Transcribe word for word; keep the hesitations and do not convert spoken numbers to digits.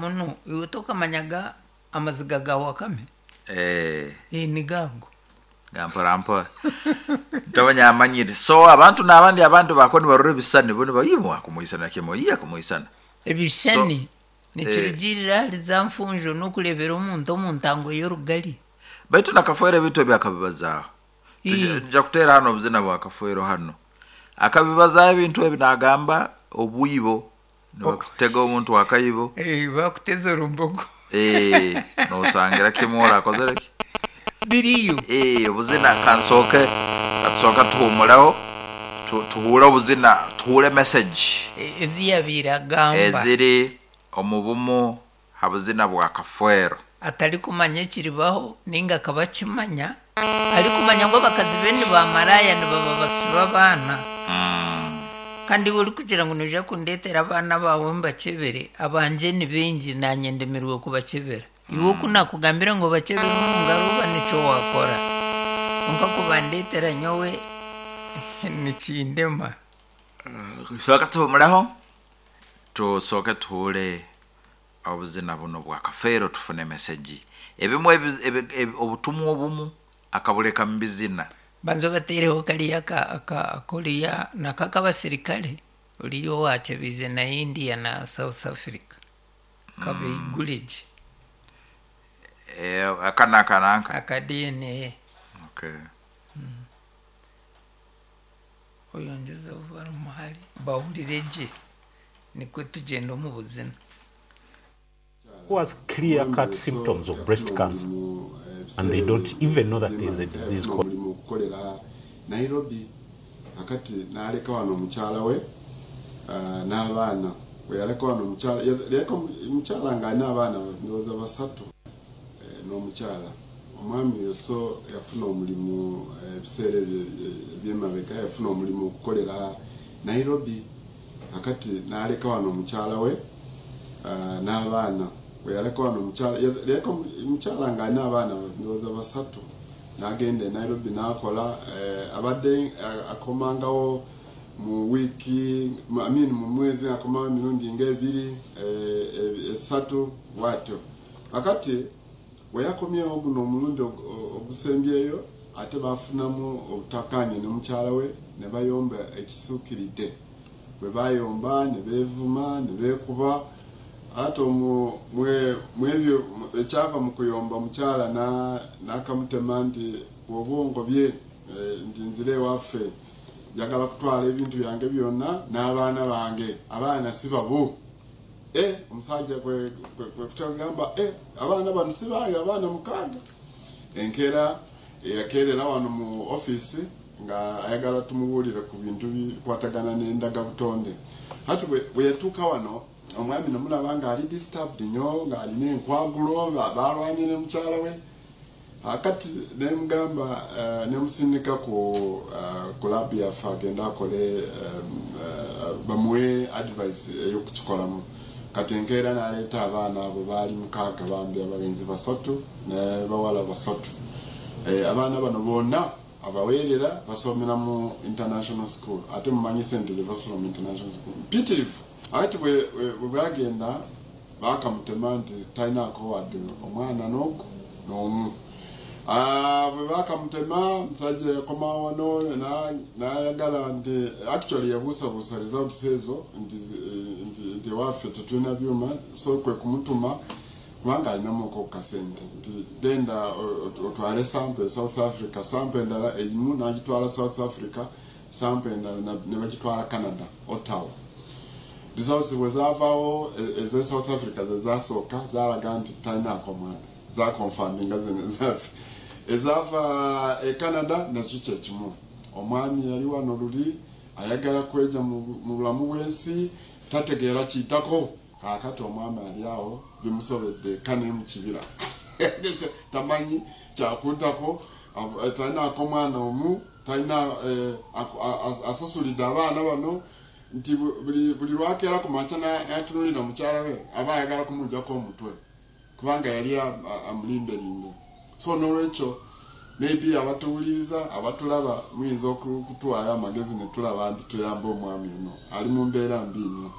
muno. Iwe tokamanyaga amaziga ga wakame? Eh. Eh, ni gago. Ga mpora mpora. Ntabanya amanyire. So abantu n'abandi abantu bako nibarora ebisani bo nibayimwa kumuisana kimo iya kumuisana. Ebisani So, nikirugirira ahari za nfunjo n'okureebera omuntu omu ntango y'orugari. Baitu nakafuera ebintu ebyakabibazaaho. Ii. Nja kuteera hano obuzina bwa Kafwero hano. Akabibazaho ebintu ebi nagamba obwibo, nibakutega omuntu akaibo. Eh, bakuteza orumbogo. Eh, nosangira kimwe orakozere ki? Biriyo. Eh, obuzina kansooke, katusooka tuhumuraho, tu-, tuhuure obuzina, tuhuure message. E-, eziyabiire agamba. Eziri omu bumu ha buzina bwa Kafwero. Atari kumanya ekiribaho ninga akaba akimanya, ari kumanya ngu abakazi be ni ba maraya nibaba basiba abaana. Mm. Kandi iwe orikugira ngu noija kundeetera abaana baawe mbakebere, abangye ni baingi naanye ndemerwe kubakebera. Iwe oku nakugambire ngu obakebere omu ngaro oba nikyo waakora. Kwonka kubandeetera nyowe nikindema. Tusooke tuhumureho, tusooke tuhuure obuzina buno bwa Kafeero tufune message. Ebimwe ebi-, ebi-, ebi-, obutumwa obumu akabuleka mu bizina. Banza bateereho kariya aka-, aka-, akoriya nako ak'abasirikare oriyo owakyebiize na India na South Africa. Kabeiguregye. Eh, aka n'aka n'aka? Aka D N A. Okay. Mm. Oyongezeho bari bahurire gye nikwe tugyenda omu buzina. Who has clear-cut symptoms of breast cancer, and they don't even know that there is a disease called Omulimu okukolera Nairobi, akati n'aleka wano omukyala we, ah, n'abaana. Bwe yaleka wano omukyala, yaleka omukyala ng'alina abaana ndowooza basatu, eh, n'omukyala. Omwami Yoso yafuna omulimu, eh, ebiseera ebyo, eh, eby'emabega, yafuna omulimu okukolera Nairobi, akati n'aleka wano omukyala we, ah, n'abaana. Bwe yaleka wano omukyala, yaleka omukyala ng'alina abaana ndowooza basatu, n'agenda e Nairobi n'akola, eh, abadde, eh, akomangawo mu wiiki, mu, I mean, mu mwezi akomawo emirundi ng'ebiri, eh, eh, esatu bw'atyo. Akati bwe yakomyewo guno omulundi og-, o-, ogusembyeyo, ate baafunamu obutakkaanya ne mukyala we ne bayomba ekisuukiridde. Bwe bayomba ne beevuma ne beekuba, ate omu-, mwe-, mwebyo ekyava mu kuyomba mukyala na-, n'akamutema nti bw'oba ongobye, eh, nti nzire ewaffe, njagala kutwala ebintu byange byonna n'abaana bange, abaana si babo. Eh, omusajja kwe, kwe, kwe kutagamba, eh, abaana bano si bange, abaana mukaaga. Enkeera eyakeerera wano mu ofiisi nga ayagala tumubuulire ku bintu bikwatagana n'endagabutonde. Kati bwe, bwe yatuuka wano, omwami namulaba ng'ali disturbed nnyo, ng'alina enkwagulo, nga baalwanye ne mukyala we. Akati ne mugamba, eh, ne musindika ku, eh, ku lab yaffe agende akole, eh, eh, bamuwe advice ey'okukikolamu. Kati enkeera n'aleeta abaana abo baali mukaaga bambi, abalenzi basatu ne bawala basatu. Eh, abaana bano bonna abaweerera basomera mu international school, ate mumanyi ssente ze basoma mu international school mpitirivu. Ate bwe, bwe, bwe bagenda baakamutema nti talinaako wadde omwana n'ogu n'omu. Ah, bwe baakamutema omusajja yakomawo wano na-, n'ayagala nti actually yabuusabuusa results ezo nti, nti, nti ewaffe tetulina byuma, so kwe kumutuma kubanga alinamuko ku kasente nti genda o-, o-, otwale sample e South Africa, sample endala eyimu n'agitwala South Africa, sample endala na-, ne bagitwala Canada, Ottawa. Results bwe zaavaawo, e-, ez'e South Africa ze zaasooka zaalaga nti talinaako mwana, zakonfaminga zino ezaffe. Ezaava e Canada nakyo kye kimu. Omwami yali wano luli ayagala kweja mu, mu bulamu bw'ensi, tategeera kiyitako. Kaakati omwami ali awo bimusobedde eka ne mu kibira. Tamanyi kyakuddako, ab-, talinaako mwana omu, talina, eh, ako-, a-, a-, asasulidde abaana bano nti bu-, buli, buli lwakeera ku makya na-, n'atunuulira mukyala we aba ayagala kumuggyako omutwe kubanga yali a-, a-, amulimbelimbe. So n'olwekyo maybe abatuwuliriza abatulaba muyinza oku-, okutuwaayo amagezi ne tulaba nti tuyambe omwami ono ali mu mbeera mbi nnyo.